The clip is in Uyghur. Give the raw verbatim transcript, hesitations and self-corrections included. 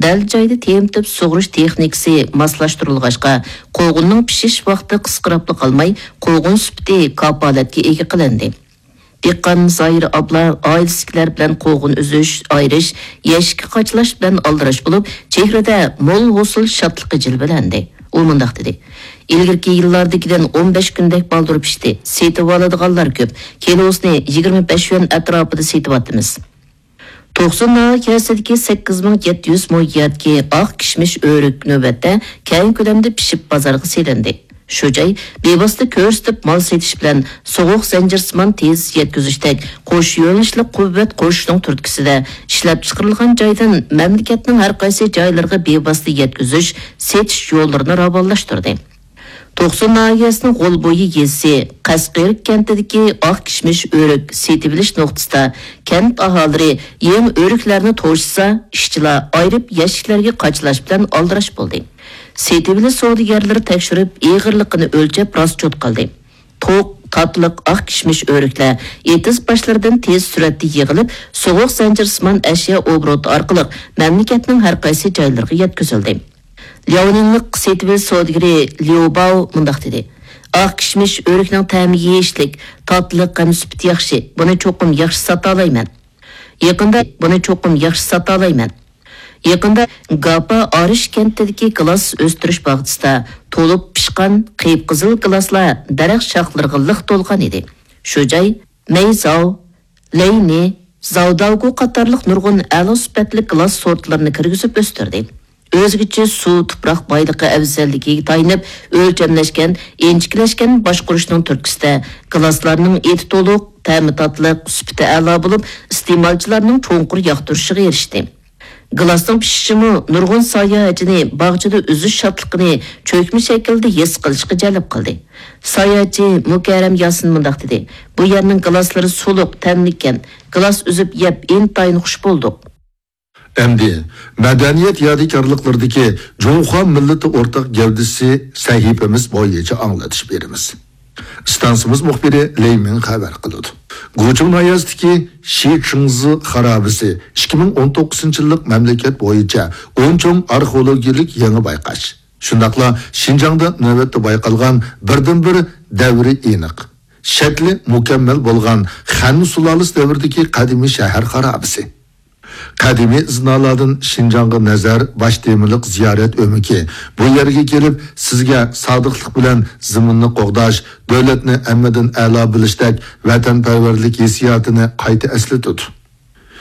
دەل جايدا تېمىتىپ سۇغىرىش تېخنىكىسى ماسلاشتۇرۇلغاچقا، قوغۇننىڭ پىشىش ۋاقتى قىسقىراپلا قالماي، قوغۇن سۈپىتى كاپالەتكە ئىگە قىلىندى. دېھقان زاھىر ئابلا ئائىلىسىدىكىلەر بىلەن قوغۇن ئۈزۈش، ئايرىش، يەشىككە قاچىلاش بىلەن ئالدىراش بولۇپ، چېھرىدە مول ھوسۇل شادلىقى جىلۋىلەندى. ئۇ مۇنداق دېدى: «ئىلگىرىكى يىللاردىكىدىن ئون بەش كۈندەك بالدۇر پىشتى. سېتىۋالىدىغانلار كۆپ. كىلوسىنى يىگىرمە بەش يۈەن ئەتراپىدا سېتىۋاتىمىز.» توقسۇن ناھىيەسىدىكى سەككىز مىڭ يەتتە يۈز مو يەردىكى ئاق كىشمىش ئۆرۈك نۆۋەتتە كەڭ كۆلەمدە پىشىپ بازارغا سېلىندى. شۇ جاي بىۋاسىتە كۆرسىتىپ مال سېتىش بىلەن سوغۇق زەنجىرسىمان تېز يەتكۈزۈشتەك قوش يۆنىلىشلىك قۇۋۋەت قوشۇشنىڭ تۈرتكىسىدە ئىشلەپچىقىرىلغان جايدىن مەملىكەتنىڭ ھەر قايسى جايلىرىغا بىۋاسىتە يەتكۈزۈش، سېتىش يوللىرىنى راۋانلاشتۇردى. توقسۇن ناھىيەسىنىڭ غول بويى يېزىسى قەسقىرىك كەنتىدىكى ئاق كىشمىش ئۆرۈك سېتىۋېلىش نۇقتىسىدا كەنت ئاھالىلىرى يېڭى ئۆرۈكلەرنى توشۇسا، ئىشچىلار ئايرىپ يەشىكلەرگە قاچىلاش بىلەن ئالدىراش بولدى. سېتىۋېلىش سودىگەرلىرى تەكشۈرۈپ، ئېغىرلىقىنى ئۆلچەپ راسچوت قىلدى. توق، تاتلىق، ئاق كىشمىش ئۆرۈكلەر ئېتىز باشلىرىدىن تېز سۈرئەتتە يىغىلىپ، سوغۇق زەنجىرسىمان ئەشيا ئوبوروتى ئارقىلىق مەملىكەتنىڭ ھەر قايسى جايلىرىغا يەتكۈزۈلدى. لياۋنىڭلىق سېتىۋېلىش سودىگىرى ليۇ باۋ مۇنداق دېدى: «ئاق كىشمىش ئۆرۈكنىڭ تەمى يېيىشلىك، تاتلىق ھەم سۈپىتى ياخشى. بۇنى چوقۇم ياخشى ساتالايمەن. يېقىندا بۇنى چوقۇم ياخشى ساتالايمەن. يېقىندا گاپا ئارىش كەنتىدىكى گىلاس ئۆستۈرۈش باغچىسىدا تولۇپ پىشقان قىپقىزىل گىلاسلار دەرەخ شاخلىرىغا لىق تولغان ئىدى. شۇ جاي مەيزاۋ، لەينى، زاۋداۋگۇ قاتارلىق نۇرغۇن ئەلا سۈپەتلىك گىلاس سورتلىرىنى كىرگۈزۈپ ئۆستۈردى. ئۆزگىچە سۇ، تۇپراق بايلىقى ئەۋزەللىكىگە تايىنىپ ئۆلچەملەشكەن، ئىنچىكىلەشكەن باشقۇرۇشنىڭ تۈرتكىسىدە گىلاسلارنىڭ ئېتى تولۇق، تەمى تاتلىق، سۈپىتى ئەلا بولۇپ، ئىستېمالچىلارنىڭ چوڭقۇر ياقتۇرۇشىغا ئېرىشتى.» گىلاسنىڭ پىشىشىمۇ نۇرغۇن ساياھەتچىنى باغچىدا ئۈزۈش شادلىقىنى چۆكمە شەكىلدە ھېس قىلىشقا جەلپ قىلدى. ساياھەتچى مۇكەررەم ياسىن مۇنداق دېدى: «بۇ يەرنىڭ گىلاسلىرى سۇلۇق، تەملىككەن. گىلاس ئۈزۈپ يەپ ئىنتايىن خۇش بولدۇق.» ئەمدى مەدەنىيەت يادىكارلىقلىرىدىكى جۇڭخۇا مىللىتى ئورتاق گەۋدىسى سەھىپىمىز بويىچە ئاڭلىتىش بېرىمىز. ئىستانسىمىز مۇخبىرى لېي مىڭ خەۋەر قىلىدۇ. گۇچۇڭ ناھىيەسىدىكى شى چىڭزى خارابىسى ئىككى مىڭ ئون توققۇزىنچى يىللىق مەملىكەت بويىچە ئون چوڭ ئارخېئولوگىيەلىك يېڭى بايقاش. شۇنداقلا شىنجاڭدا نۆۋەتتە بايقالغان بىردىنبىر دەۋرى ئېنىق، شەكلى مۇكەممەل بولغان خەن سۇلالىسى دەۋرىدىكى قەدىمىي شەھەر خارابىسى. قەدىمىي ئىزنالاردىن شىنجاڭغا نەزەر باش تېمىلىق زىيارەت ئۆمىكى بۇ يەرگە كېلىپ، سىزگە سادىقلىق بىلەن زېمىننى قوغداش، دۆلەتنى ھەممىدىن ئەلا بىلىشتەك ۋەتەنپەرۋەرلىك ھېسسىياتىنى قايتا ئەسلىتىدۇ.